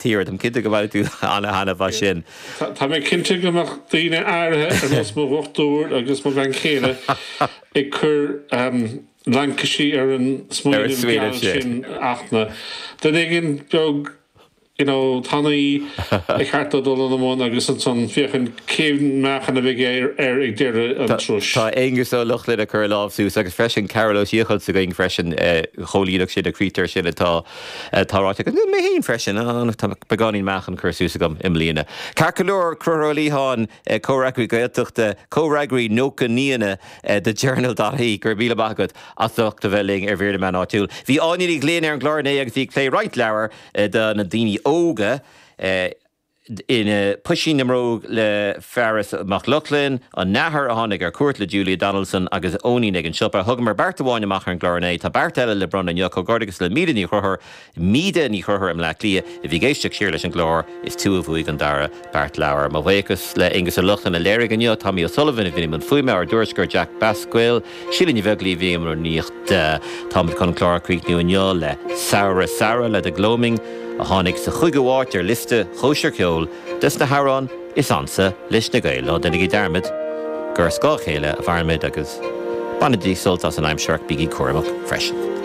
tíre. Táim cinnte go mbainfidh tú ana-thaitneamh as sin. Tá mé cinnte go mbeadh daoine áirithe ar nós mo dhochtúir agus mo bhean chéile ag cur laincisí ar an smaoineamh geal sin ach na duine éigin beag you know, tanaí ba cheart dó dul ina mbun agus ansan féachaint cén meáchan a bheidh air ag deireadh an turais. Tá Aengus Ó Lochlainn ag cur a lámh suas agus freisin Carol Ó Siachóid s'againn freisin, chomhlíonfadh sé na critéir sin atá atá ráite agat. Mé féin freisin, tá beagáinín meáchan curtha suas agam i mbliana. Ceart go leor, Conchúr Ó Liatháin, Comhfhreagraí Gaeltachta, Comhfhreagraí 90 naíona do Journal dot ie, go raibh míle maith agat as ucht a bheith linn ar Mhír na Meán Áitiúil. Bhí Áine Ní Ghlinn ar an gclár inné agus bhí ag plé roinnt leabhar. do na daoine óga ina Puisín na mBróg le Fearghas Mac Lochlainn, An Nathair a tháinig ar cuairt le Julia Donaldson agus Eoinín ag an siopa. Thugamar beart amháin amach ar an gclár inné. Tá beart eile le bronnadh inniu. Comhghairdeachas le Míde Ní Chonchúir, Míde Ní Chonchúir i mBleá Cliath a bhí ag éisteacht siar leis an gclár. Is tú a bhuaigh an dara beart leabhar. Mo bhuíochas le Aengus Ó Lochlainn a léirigh inniu, Tommy O'Sullivan a bhí i mbun fuaime, ár dtuairisceoir Jack Basquille, Síle Ní Bheaglaoí a bhí i mbun rúnaíochta. Táimid chun an clár a chríochnú inniu le Samhradh Samhradh le The Gloaming a tháinig sa chúigiú háit ar liosta Chóisir Cheoil des na hamhráin is ansa leis na Gaeil. Ná déanaigí dearmad gur ar scáth a chéile a mhairimid agus bainigí sult as an aimsir ach bígí cúramach freisin.